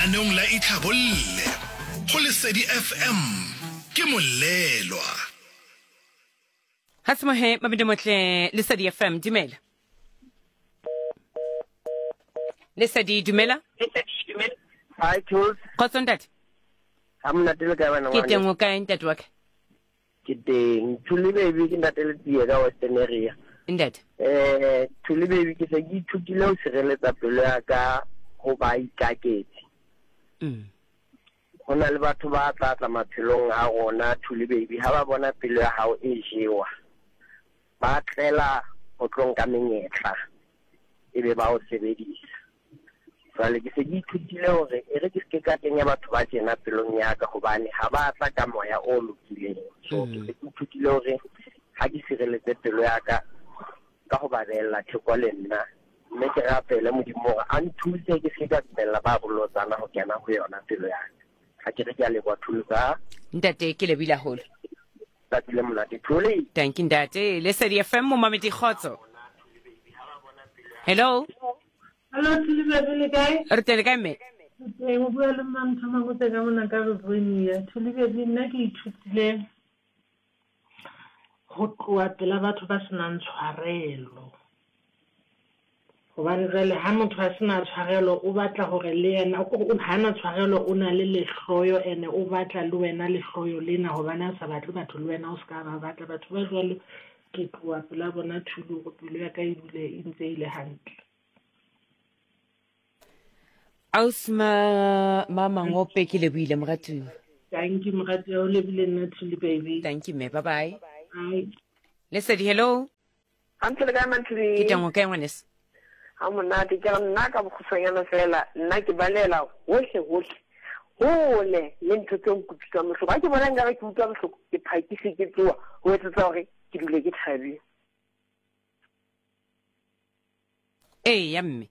Lenaneong la Itlhabolle go Lesedi FM ke Molelwa. Ga semohe mabedi motle Lesedi FM dumela. Lesedi dumela. Hi Tools. Kgotso ntate. Ha monate le kae bana Ke teng o kae ntate wa ka? Ke teng. Thuli baby ke ntate le tsie ka Western area. Ntate. Eh Thuli baby ke se ke ithutile ho sireletsa pelo ya ka ho ba ikaketsi. Ho na le batho ba tla tla maphelong a rona Thuli baby ha ba bona pelo ya hao e jewa. Ba tlela ho tlo nka menyetla ebe ba o sebedisa. Jwale ke se ke ithutile hore e re ke se ke ka kenya batho ba tjena pelong ya ka hobane ha ba tla ka moya o lokileng. So ke se ke ithutile hore ha ke sireletse pelo ya ka ka ho ba beella theko le nna mme ke rapele Modimo hore a nthuse ke se ke ka dumella ba bolotsana ho kena ho yona pelo ya ka. Ha ke re ke a leboha Thusa. Ntate ke lebile haholo. Tsatsi le monate Thuli. Thank you ntate. Lesedi FM momamedi kgotso. Hello. Hello Thuli baby le kae? Re teng le kae mme? Teng o bua le Mantho Mangope ka mona ka Rivonia. Thuli baby nna ke ithutile ho tloha pela batho ba senang tshwarelo. Hobane jwale ha motho a sena tshwarelo o batla hore le yena ha na tshwarelo o na le lehloyo ene o batla le wena lehloyo lena hobane a sa batle batho le wena o se ka ba batla. Batho ba jwalo ke tloha pela bona Thuli hore pelo ya ka e dule e ntse e le hantle. Ausi ma ma Mangope ke lebohile moratuwa. Thank you moratuwa o lebile nna Thuli baby. Thank you mme bye bye. Bye. Lesedi hello. Hantle le kae Manthuli? Ke teng o kae ngwaneso? Ha monate ke re nna ka bokgutshwanyana fela nna ke balela hohle hohle hole le ntho tse nkutlwisang bohloko. Ha ke bona nkare ke utlwa bohloko ke phakise ke tsoa ho etsetsa hore ke dule ke thabile. Ee ya mme.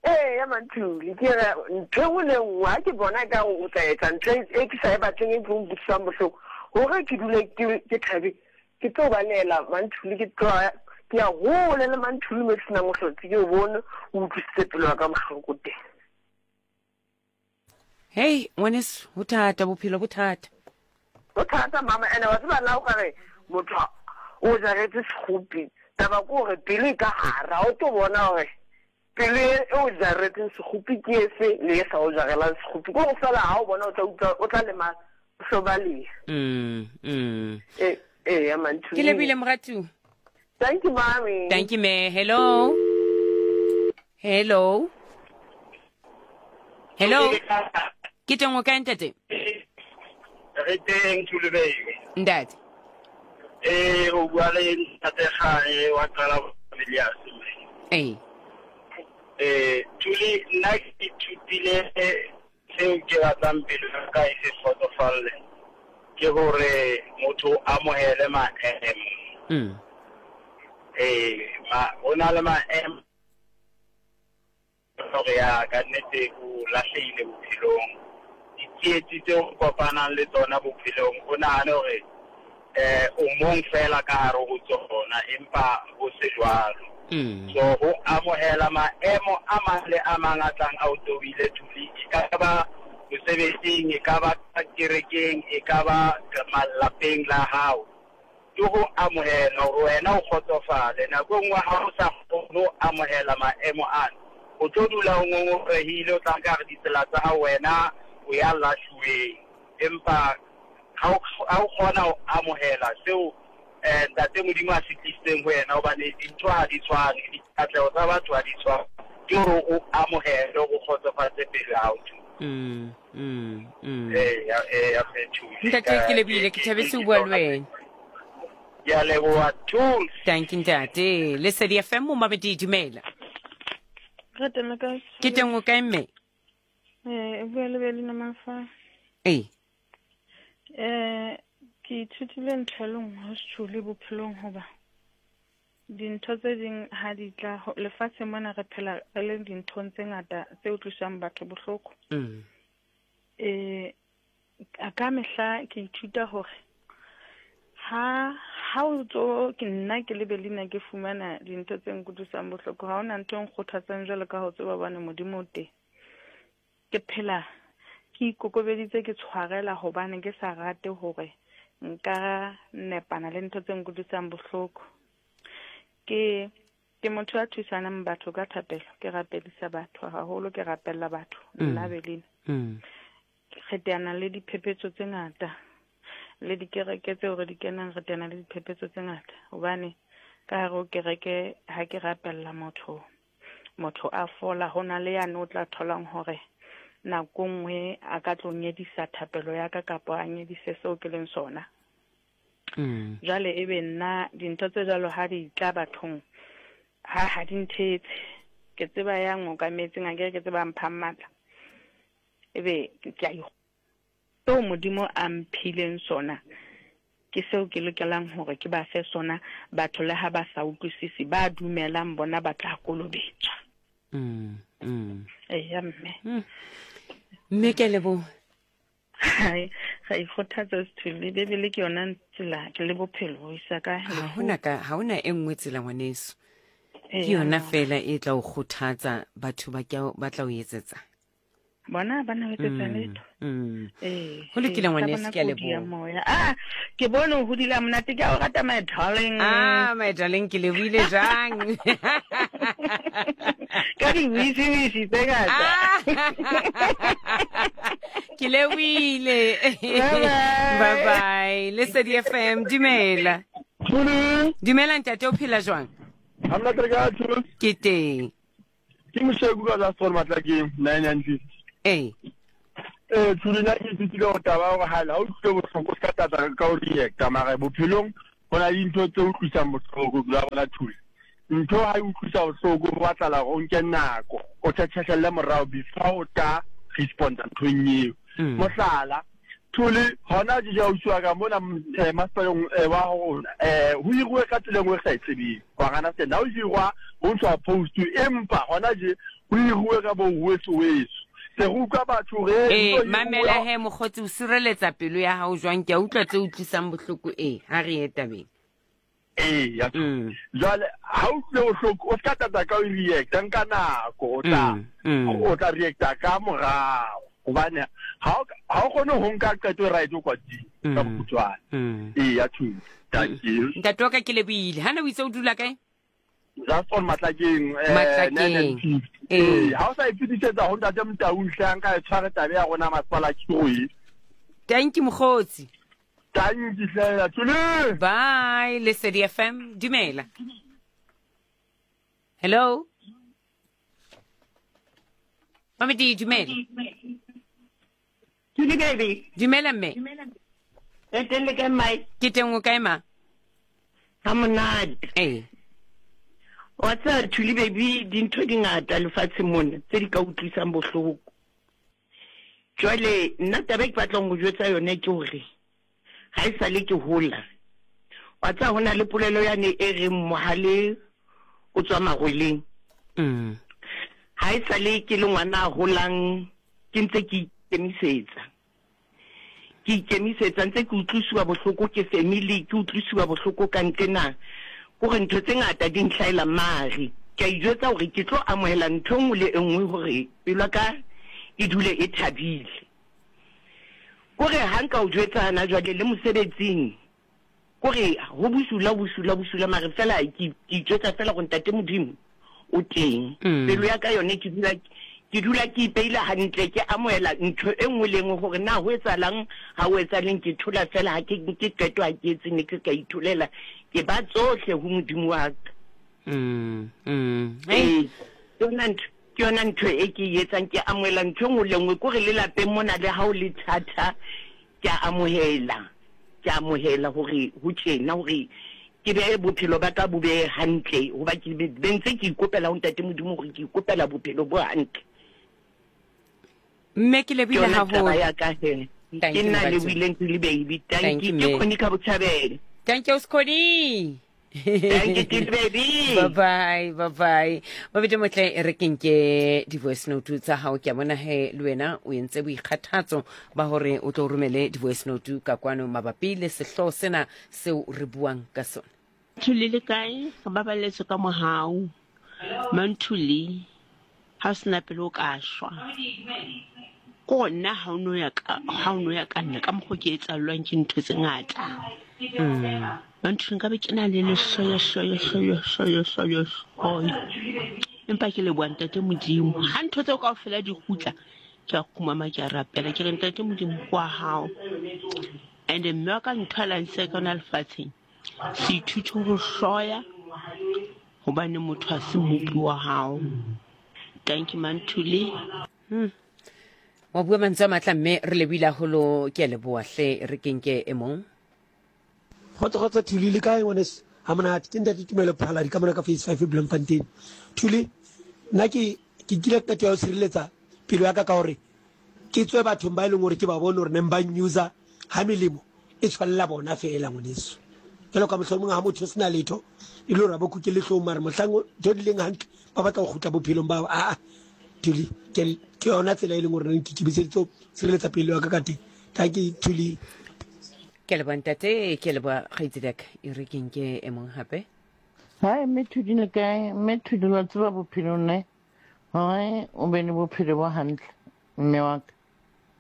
Ee ya Manthuli ke re ntho e nngwe le nngwe ha ke bona ka o tla etsa ntho e ke sa e batleng e tlo nkutlwisang bohloko hore ke dule ke thabile ke tlo balehela Manthuli ke tloha ke ya hole le Manthuli mo ke senang ho hlotse ke o bone o utlwisitse pelo ya ka bohloko teng. Hei ngwaneso ho thata bophelo bo thata. Ho thata mama ene wa tseba la o ka re motho o jaretse sekgopi taba ke gore pelo e ka gare ga o tlo bona gore pelo e o jaretseng sekgopi ke efe le e sa o jarelang sekgopi ke go fela ga o bona o tla utlwa o tla lemala o hlobalea. E e ya manthu. Ke lebile moratuwa. Thank you mommy. Thank you me. Hello. Hello. Hello. Ke teng o kae ntate? Re teng Thuli baby. Ntate. Eh o bua le ntate Gae wa qala Villiers. Ee. Eh Thuli nna ke ithutile Seo ke batlang pelo ya ka e se kgotsofalle ke hore motho o amohele maemo. Ee, ma, ho na le maemo hore ya ka nnete o lahlehile bophelong. Ditsietsi tseo o kopanang le tsona bophelong o nahane hore eh o mong fela ka hare ho tsona empa ho se jwalo. So ho amohela maemo a mang le a mang a tlang a o tobile Thuli, e ka ba mosebetsing, e ka ba kerekeng, e ka ba malapeng la hao, ke ho amohela hore wena o kgotsofale. Nako e nngwe ha o sa kgone ho amohela maemo ana, o tlo dula o ngongorehile, o tla nka re ditsela tsa hao wena o ya lahluweng. Empa ha o, ha o kgona ho amohela seo eh, Ntate Modimo a se tlisitseng ho yena, hobane dintho ha di tshwane, dikatleho tsa batho ha di tshwane, ke hore o amohele, o kgotsofatse pelo ya hao. Ee, ya, ee, ya Methuli. Ntate ke lebile, ke thabetse ho bua le wena. Ke a leboha, Tools. Thank you ntate. Lesedi FM momamedi dumela. Re teng le kae? Ke teng o kae mme? Eh, bua le Belina Mafa. Ee. Eh, ke ithutile ntho e le nngwe ho Sethuli bophelong hoba dintho tse ding ha di tla lefatsheng mona re phela re le dinthong tse ngata tse utlwisang batho bohloko. Eh, ka mehla ke ithuta hore ha ha o tso ke nna ke le Belina ke fumana dintho tse nkutlwisang bohloko ha hona ntho e nkgothatsang jwalo ka ho tseba bane Modimo o teng. Ke phela ke ikokobeditse ke tshwarela hobane ke sa rate hore nka nepana le ntho tse nkutlwisang bohloko. Ke ke motho ya thusanang batho ka thapelo, ke rapedisa batho haholo, ke rapella batho nna Belina. Re teana le diphephetso tse ngata le dikereke tseo re di kenang, re teana le diphephetso tse ngata hobane ka hare ho kereke ha ke rapella motho motho a fola, ho na le yane o tla tholang hore nako nngwe a ka tlo nyedisa thapelo ya ka kapa a nyedise seo ke leng sona. Jwale ebe nna dintho tse jwalo ha di tla bathong ha ha di nthetse. Ke tseba ya ngokametseng akere ke tseba mphang matla. Ebe ke a Seo Modimo a mphileng sona, ke seo ke lokelang hore ke ba fe sona, batho le ha ba sa utlwisise, ba dumelang bona ba tla kolobetswa. Eya, mme. Mme ke a leboha. Hai, ra ikgothatsa Sithole, Bibele ke yona tsela le bophelo ho isa ka Ha hona ka ha hona e nngwe tsela ngwaneso. Ke yona fela e tla o kgothatsa batho ba ba tla o etsetsa. Bona ba na etsetsa letho. Ee, Ho lokile ee, ngwaneso, sa ke a bona kodi ya leboha. moya. Ah, ke bone o hodile ha monate, ke a o rata my darling. Ah, my darling, ke lebohile jang? Ka di-wisi-wisi tse ngata. Ah. Ke lebohile. Bye-bye. Bye-bye. Lesedi FM, dumela. Dumela ntate, o phela jwang? Ha monate re kae, Thuli? Ke teng. Ke Mosheku ka last one Matlakeng, 950. Ee. Ee, Thuli, nna ke ithutile gore taba ya gore ha o utlwile bohloko o se ka tata ka o reacta, mara bophelong go na le dintho tse utlwisang bohloko, la bona Thuli. Ntho ha e utlwisa bohloko go batlala gore o nke nako o tšhetšhehlelle morago before o tla responda nthong eo. Mohlala, Thuli, hona je ausi wa ka mona masepaleng wa rona ho hiruwe ka tsela e nngwe re sa e tsebeng. Wa gana sena ha o hirwa ho ntshwa post, empa hona je ho hiruwe ka bo weso weso. Se re utlwa batho re Ee, mamela he mokgotsi, o sireletsa pelo ya hao jwang? Ke a utlwa tse utlwisang bohloko ee, ha re ye tabeng. Ee, ya Jwale ha o utlwile bohloko o ska tata ka o reacta, nka nako o tla o tla reacta ka morao hobane ha o ha o kgone ho nka qeto e right o kwatile ka bokhutswane. Ee, ya thusa. Thank you. Ntate wa ka ke lebohile. Hana o itse o dula kae? Just on Matlakeng, Matlakeng. 950. Ee. Ee, ha o sa e fetisetsa ho ntate Motau hle a nka e tshware tabe ya rona masepala khiro e. Thank you mokgotsi. Thank you hle, Thuli. Bye, Lesedi FM. Dumela. Hello. Mamedi, dumela. Thuli baby. Dumela mme. Re teng le kae mmae? Ke teng, o kae ma? Ha monate. Ee. Wa tseba Thuli baby, dintho di ngata lefatsheng mona tse di ka utlwisang bohloko. Jwale nna taba e ke batlang go jwetsa yone ke hore ga e sale ke hola, wa tseba ho na le polelo yane e reng mohale o tswa magweleng. Ga e sale ke le ngwana a holang ke ntse ke ikemisetsa, ke ikemisetsa ntse ke utlwisiwa bohloko ke family, ke utlwisiwa bohloko ka ntlena, kore ntho tse ngata di ntlhaela mare ke a ijwetsa hore ke tlo amohela ntho e nngwe le e nngwe hore pelo ya ka e dule e thabile. Kore ha nka o jwetsa hana jwale le mosebetsing, kore ho bosula, bosula, bosula, mare fela ke itjwetsa fela gore ntate Modimo o teng. Pelo ya ka yone ke dula ke dula ke ipeile hantle, ke amohela ntho e nngwe le nngwe gore na ho etsahalang, ha ho etsahaleng, ke thola fela, ha ke nke qeto, ha ke etse niks, ka itholela, ke ba tsohle ho Modimo wa ka. Ee, ke yona ntho, ke yona ntho e ke e etsang, ke amohela ntho e nngwe le nngwe, kore le lapeng mona le ha o le thata, ke a amohela, ke a amohela hore ho tjena, hore ke behe bophelo ba ka bo be hantle, hoba ke be ntse ke ikopela ho Ntate Modimo hore ke ikopela bophelo bo hantle. Mme ke lebohile Ke yona taba haholo. ya ka he. Thank Ke you, nna Moratsi. lebohileng Thuli baby. Thank Thank you, you. Ke mme. Connie ka Botjhabela. Thank you, Skhoni. Thank you, Thuli baby. Bye bye, bye bye. Babedi motle e re ke nke di-voice note tsa hao, ke a bona he le wena o entse boikgathatso ba hore o tlo romele di-voice note ka kwano mabapi le sehlooho sena seo re buang ka sona. Thuli le kae? Re baballetswe ka mohau. Manthuli, ha o sena pelo o ka shwa. Ke gore nna ha o no ya ka ha o no ya ka nna ka mokgo ke etsallwang ke ntho tse ngata. Mantho nka be ke na le lehloyo hloyo hloyo hloyo hloyo hloyo. Empa ke leboha ntate Modimo. Ha ntho tseo kaofela di kgutla, ke a kgumama ke a rapela ke re ntate Modimo ke wa hao. And mme wa ka ntho a la nsiya ka yona lefatsheng, se ithute ho hloya hobane motho ha se mmopi wa hao. Thank you Manthuli. Hmm. Wa bua mantswe a matla mme re lebohile haholo ke a leboha hle re kenke e mong. Kgotso kgotso Thuli le kae ngwaneso? Ha monate ke ntate Tumelo Phaladi ka mona ka phase 5 Bloemfontein. Thuli nna ke ke kile qeto ya ho tshireletsa pelo ya ka ka hore ke tswe bathong ba e leng hore ke ba bone hore neng ba nyuza ha melemo e tshwanela bona feela ngwaneso. Jwalo ka mohlomong ha motho o sena letho e le hore a bo kuke lehlong mare mohlang ntho di leng hantle ba batla go kgutla bophelong ba aa Thuli ke ke yona tsela e leng hore ke ikemiseditse ho sireletsa pelo ya ka ka teng. Tanki Thuli. Ke leboha ntate, ke leboha kgaitsedi ya ka. E re ke nke e mong hape. Hi, mme Thuli le kae? Mme Thuli wa tseba bophelong ne hore o be le bophelo bo hantle mme wa ka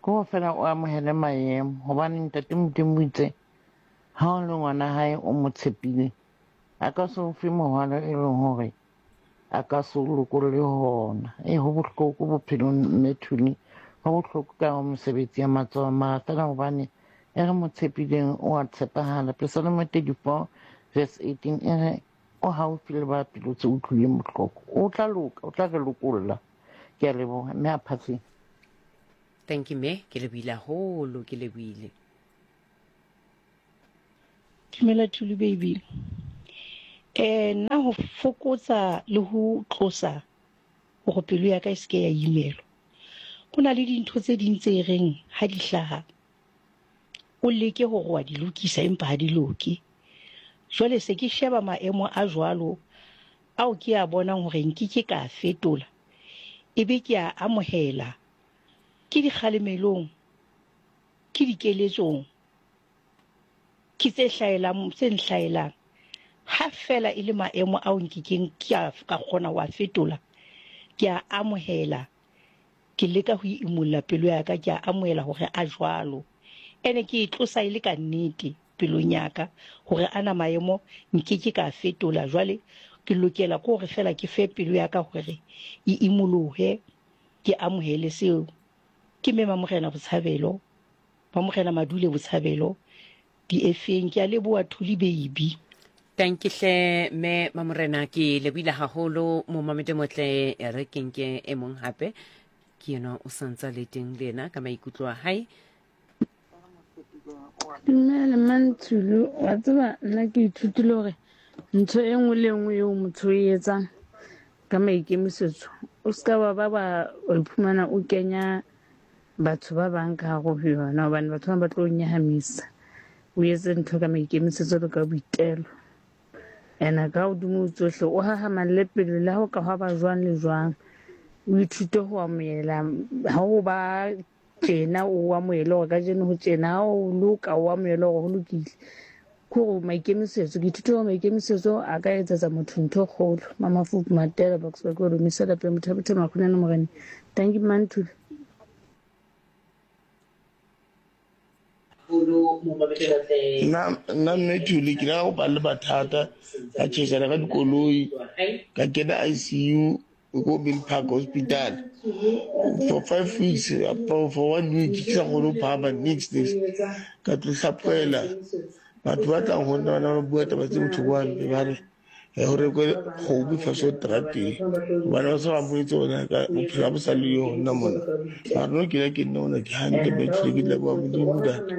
ke ho fela o amohele maemo hobane ntate Modimo o itse ha o le ngwana hae o mo tshepile a ka se o fe mohwalo e leng hore a ka se o lokolle hona. E ho bohloko bophelong mme Thuli, ho bohloko ka ho mosebetsi ya matsoho mara fela hobane e re mo tshepileng o a tshepahala. Pesalome 34 verse 18 e re o haufi le ba pelo tse utlwileng bohloko. O tla loka, o tla re lokolla. Ke a leboha mme a phatseng. Thank you mme, ke lebohile haholo, ke lebohile. Dumela Thulu baby. Eh nna ho fokotsa le ho tlosa hore pelo ya ka e seke ya imelwa. Ho na le dintho tse ding tse reng ha di hlaha o leke hore wa di lokisa empa ha di loke. Jwale se ke sheba maemo a jwalo ao ke a bonang hore nkeke ka a fetola ebe ke a amohela ke dikgalemelong ke dikeletsong ke tse hlaelang tse nhlaelang ha fela e le maemo ao nkekeng ka ka kgona ho a fetola ke a amohela ke leka ho imolla pelo ya ka ke a amohela hore a jwalo ene ke e tlosa e le ka nnete pelong ya ka hore ana maemo nkeke ka a fetola jwale ke lokela ke hore fela ke fe pelo ya ka hore e imolohe ke amohele seo ke mema morena botshabelo Ba Morena Madule Botshabelo di efeng? Ke a leboha Thuli baby. Tanki hle me Mamorena ke lebohile haholo momamedi motle e re ke nke e mong hape ke yena o santsa le teng le yena ka maikutlo a hae. Dumela Mantshulu, wa tseba nna ke ithutile hore ntho e nngwe le e nngwe eo motho o e etsang ka maikemisetso o ska wa ba wa iphumana o kenya batho ba bang ka hare ho yona hobane batho ba bang ba tlo o nyahamisa. O etse ntho ka maikemisetso le ka boitelo. Ene ka hodimo ho tsohle o hahamalle pele le ha o ka hwa ba jwang le jwang. O ithute ho amohela ha o ba tjena o amohele hore kajeno ho tjena, ha o loka o amohele hore ho lokile. Ke hore maikemisetso, ke ithutile hore maikemisetso a ka etsetsa motho ntho e kgolo. Mamafuku Matela Boksburg o romisa lapeng Mothabothe Makgonyane Morena. Thank you Mantuli. Nna nna mme Thuli ke la go ba le mathata ka tšhešana ka dikoloi ka kena ICU ko Mill Park Hospital for five weeks for one week ke sa kgone go phahama nix nix ka tlo hlaphoela batho ba tlang go nna ba bua taba tse botlhoko hampe ba re go rekwe kgomo fa so terateng gobane ba se ba mpoletse gona ka bophelo ga bo sa le yo nna mona mara no ke la ke nna ona ke hantle mme tlile ke leboga modimo ntate.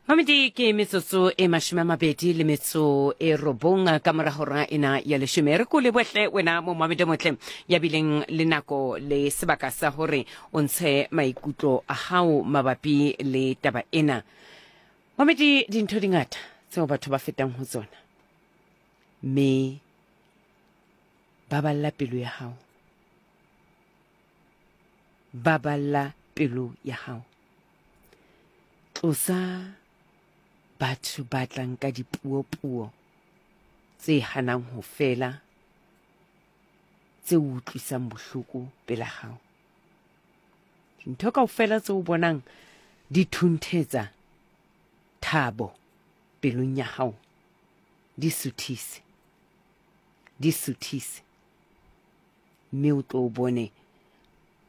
Mamedi ke metsotso e 20 le metso e robong ka mora hora ena ya leshome. Re ko lebohle wena momamedi motle ya bileng le nako le sebaka sa hore o ntshe maikutlo a hao mabapi le taba ena. Mamedi dintho di ngata tseo batho ba fetang ho tsona mme baballa pelo ya hao. Baballa pelo ya hao. Tlosa batho ba tlang ka dipuo-puo tse hanang ho fela, tse o utlwisang bohloko pela gago. Dintho kaofela tse o bonang di thunthetsa thabo pelong ya gago, di suthise, di suthise, mme o tlo o bone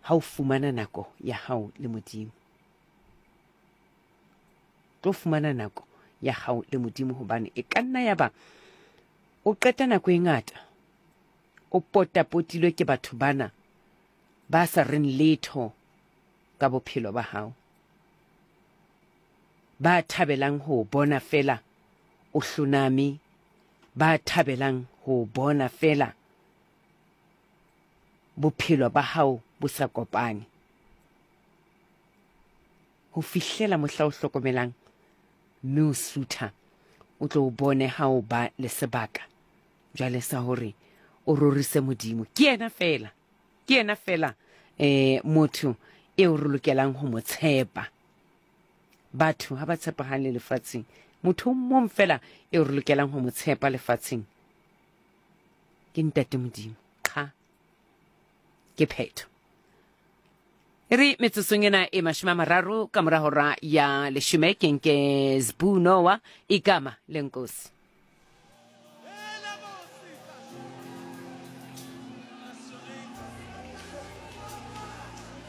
ha o fumana nako ya hao le Modimo. Tlo fumana nako ya hao le Modimo, hobane e ka nna ya ba o qeta nako e ngata o potapotilwe ke batho bana ba sa reng letho ka bophelo ba hao, ba thabelang ho o bona feela o hloname, ba thabelang ho o bona feela bophelo ba hao bo sa kopane. Ho fihlela mohla o hlokomelang mme o sutha, o tlo o bone ha o ba le sebaka jwale sa hore o rorise Modimo. Ke yena feela, ke yena feela eh, motho eo re lokelang ho mo tshepa. Batho ha ba tshepahale lefatsheng. Motho o mong feela eo re lokelang ho mo tshepa lefatsheng ke Ntate Modimo. Qha, ke phetho. E re metsotsong ena e 30 ka mora hora ya leshome ke nke Sbu Noah igama lenkosi.